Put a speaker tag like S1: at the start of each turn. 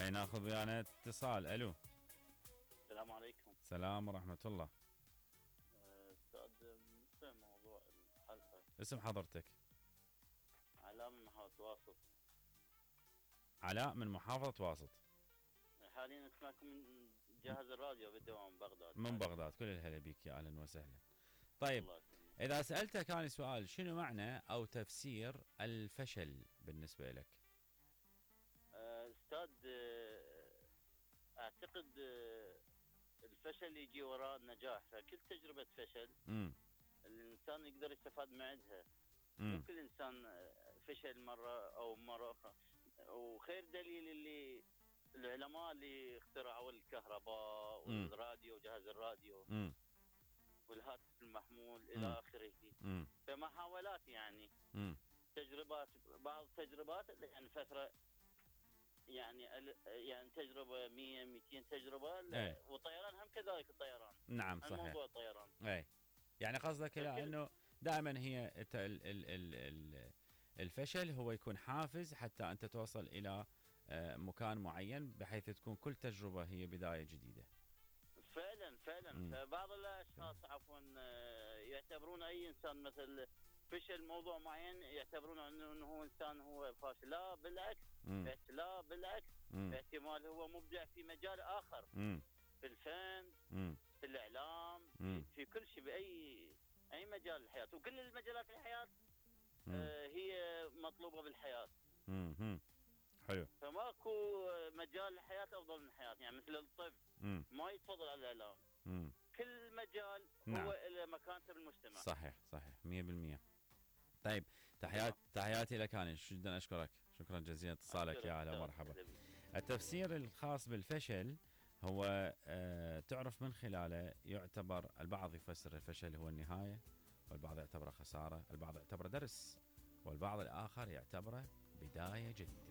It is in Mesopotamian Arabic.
S1: خلينا ناخذ ويانا اتصال. الو.
S2: السلام عليكم.
S1: السلام ورحمة الله.
S2: استاذ، بالنسبه لموضوع الحلقه،
S1: اسم حضرتك؟
S2: علاء من محافظه واسط.
S1: علاء من محافظة واسط.
S2: حاليا اسمعكم من جهاز الراديو بالدوام بغداد.
S1: من بغداد، كل الهلا بيك، يا اهلا وسهلا. طيب،
S2: الله يسلمك.
S1: اذا سألتك انا سؤال، شنو معنى او تفسير الفشل بالنسبة لك؟
S2: استاذ، اعتقد الفشل يجي وراء النجاح، فكل تجربه فشل الانسان يقدر يستفاد معها. كل انسان فشل مره او مره اخرى، وخير دليل اللي العلماء اللي اخترعوا الكهرباء والراديو وجهاز الراديو والهاتف المحمول الى اخره. فمحاولات يعني تجربات، بعض التجربات يعني فتره، يعني تجربه 100 200 تجربه. والطيران هم كذلك، الطيران.
S1: نعم صحيح.
S2: موضوع الطيران.
S1: اي يعني قصدك انه دائما هي الفشل هو يكون حافز حتى انت توصل الى مكان معين، بحيث تكون كل تجربة هي بداية جديدة.
S2: فعلا فبعض الاشخاص عفوا يعتبرون اي انسان مثل فشل موضوع معين يعتبرون انه هو انسان هو فاشل. لا بالعكس. لا بالعكس. احتمال هو مبدع في مجال اخر، في الفن، في الاعلام، في كل شيء، باي مجال الحياة. وكل المجالات الحياة هي مطلوبة بالحياة.
S1: حلو.
S2: فماكو مجال الحياة افضل من الحياة، يعني مثل الطب ما يتفضل على الاعلام. كل مجال هو له مكانته بالمجتمع.
S1: صحيح 100%. طيب، تحياتي لك انا، جدا اشكرك، شكرا جزيلا اتصالك، يا هلا ومرحبا. التفسير الخاص بالفشل هو تعرف من خلاله يعتبر، البعض يفسر الفشل هو النهاية، والبعض يعتبره خسارة، البعض يعتبره درس، والبعض الآخر يعتبره بداية جديدة.